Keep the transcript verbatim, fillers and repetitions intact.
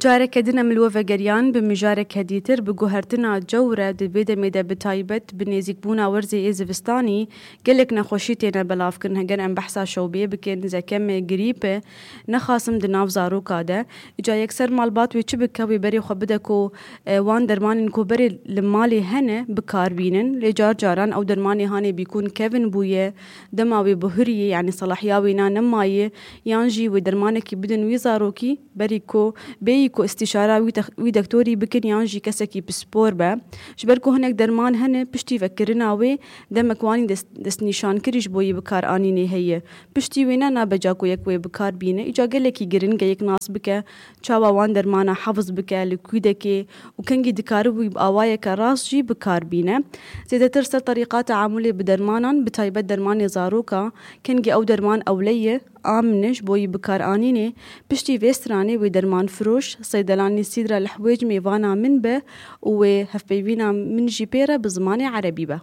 Careke din em li we vegeriyan bi mijareke dîtir bi guhertina cewre di vê demê de bi taybet bi nêzîkbûna werzê ê zivistanî gelek nexweşî têne belavkirin. Heger em behsa şewbiyê bikin, zekeme, grîpe, nexasim di nav zaroka de. Îca yekser malbat wê çi bike, wê berê xwe bide ku, e, wan dermanên ku berê li malê hene bi kar bînin. Lê car caran ew dermanê hanê bîkûn kevin bûye, dema wê bihuriyê, yanî selahiya wê na nemaye, yan jî wê dermanekî bidin wî zarokî, berî ku bêyî ku îstîşara wî tex-, wî dektorî bikin yan jî kesekî pispor be. Ji ber ku hinek derman hene, piştî vekirina wê demek wanî dest-, destnîşankirî ji bo yê bikaranînê heye. Piştî wê ne nabe ca ku yek wê bikar bîne. Îca gelekî giring e yek nas bike, çawa wan dermana hefz bike li kûdekê û kengî dikare wî bi awayeke rast jî bikar bîne. Zêdetir ser terîqa teamulê bi dermanan, bi taybet dermanê zaroka, kengî ew derman ewle ye, amin e ji bo yî bikaranînê. Piştî vê stranê wê derman firoş, seydelanî Sîdra Lihwêc mêvana min be û wê hevpeyvîna min jî pê re bi zimanê erebî be.